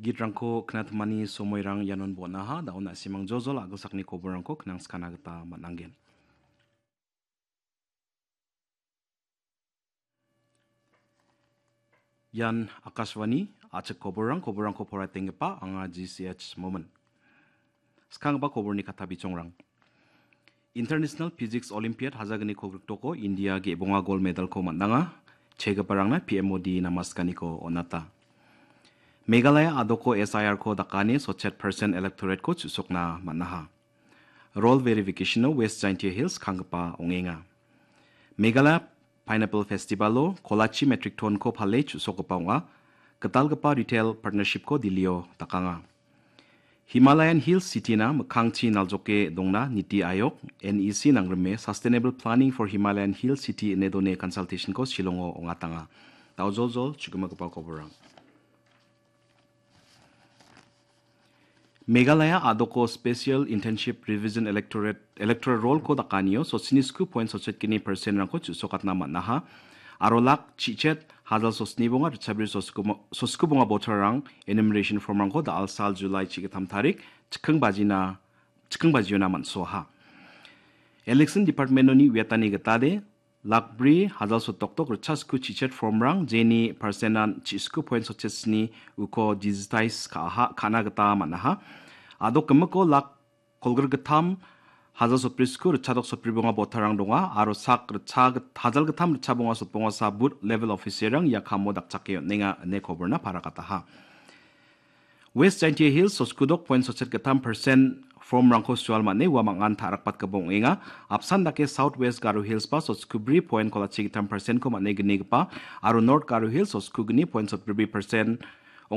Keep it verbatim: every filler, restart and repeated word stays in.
Git rangko kna tmani somoi rang yanon bona ha, da una simang jojo la agak sakni kobor rangko knang skana geta matnanggen. Yan Akashvani, achek kobor rang, kobor rangko porai tenggepa, anga G C H Moment. Skang ba kobor ni kata bichong rang. International Physics Olympiad haja gni ko grikto ko India ge bonga gold medal ko mandanga, chega parang na P M Modi namaskani ko onata. Meghalaya adoko S I R ko dakani sochet percent electorate ko chusokna manaha. Roll verification no West Jaintia Hills kangpa ongenga. Meghalaya Pineapple Festival o Kolachi Metric Ton ko phale chusokpa onga, ketalgpa retail partnership ko dilio takanga. Himalayan Hills City na mekangchi naljoke dongna Niti Ayog, N E C nangreme Sustainable Planning for Himalayan Hills City nedone consultation ko Shillong o ongatanga. Tau jol jol, chukuma kepau koborang. Meghalaya adoko Special Internship Revision Electorate, Electoral Roll ko dakanio, so sinisku point so chet kini percent rangko chusokatna manaha. Arolak chichet, hazal so snibonga, richabri so sku, so sku bonga botor rang, enumeration form rangko da alsal July chikatam tarik, chikeng bajina, chikeng bajiona mansoha. Election Department noni wiatani getade, lakbri, hazal so toktok, rechasku chichet form rang, jeni percent an chisku point so chet sni uko digitize ka aha, kana geta manaha. Ado kemeko lak kolger getam, hazal so prisku, rechadok so pribonga botarang donga, aro sak recha get-, hazal getam recha bonga so bonga sa booth level officer rang ya kamo dak chakyo nenga ne koborna para kataha. West Jaintia Hills so skudok point so chet getam percent form rangko sual mane wa mangan tharak pat kebong inga, apsan dake South West Garo Hills pa so skubri point kolachi getam percent ko mane geni gepa, aro North Garo Hills so skugni point so pribri percent